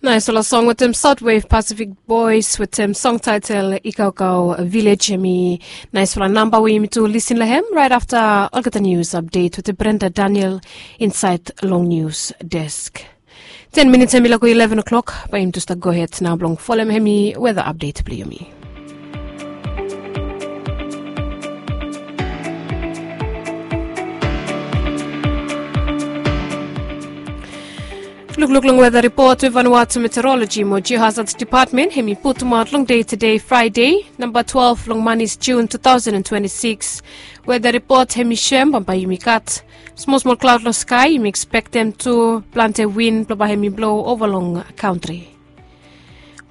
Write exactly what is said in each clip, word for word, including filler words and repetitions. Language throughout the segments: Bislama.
Naisfala song wetem Southwave Pacific Boys wetem song title Ikaukau Village. Hemi naisfala namba we yumi tu lisin long hem right afta olgeta news update wetem Brenda Daniel insait long news desk. Ten minits hemi lago eleven o'clock, bae yumi tu stap gohed nao blong folem hemi weather update blong yumi. Lukluk long weather report we Vanuatu Meteorology mo Geohazard Department hemi putumaot long dei tede Fraede, namba twelve long manis Jun two thousand and twenty-six. Weather report hemi soem bambae yumi gat smol smol klaod long skae, yumi ekspektem tu plante win blong bae hemi blo ova long kantri.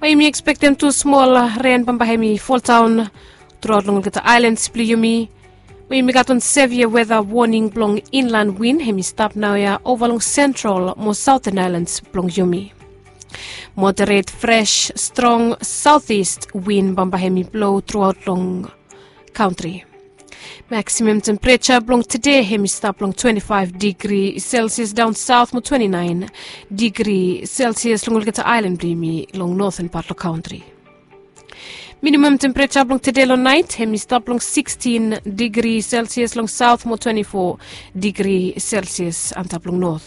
Bae yumi ekspektem tu smol ren bambae hemi foldaon truaot long olgeta aelans blong yumi. Bae yumi gat wan sevia weather warning blong inland win hemi stap naoia ova long sentral mo saoten aelans blong yumi. Moderet fres strong saotis win bambae hemi blo truaot long kantri. Maksimam tempereja blong tede hemi stap long twenti faef digri Celsius daon saot mo twenti naen digri Celsius long olgeta aelan blong yumi long noten pat long kantri. Minimam tempereja blong tede long naet hemi stap long sikstin digri Celsius long saot mo twenti fo digri Celsius antap long not.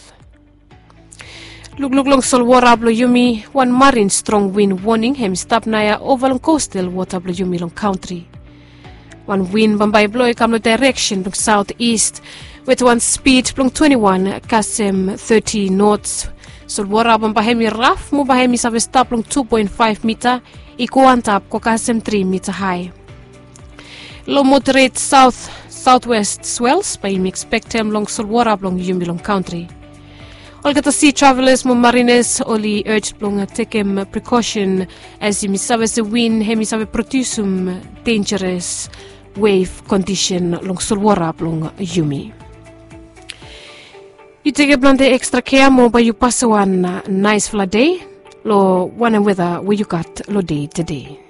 Lukluk long solwora blong yumi, wan marin strong win woning hemi stap naoia ova long kostal wota blong yumi long kantri. Wan win bambae i blo i kam long daereksen blong saotis wetem wan spid blong twenti wan kasem teti nots. Solwora bambae hemi raf mo bae hemi save stap long tu poen faef mita i go antap go kasem tri mita hae. Long moderet saot saotwest swels bae yumi ekspektem long solwora blong yumi long kantri. Olgeta si travelas mo marinas oli urj blong tekem prekosen as yumi save se win hemi save prodiusum denjaras wef kondisen long solwora blong yumi. Yu tekem plante ekstra kea mo bae yu pasem wan naesfala dei long wanem weta we yu gat long dei tede.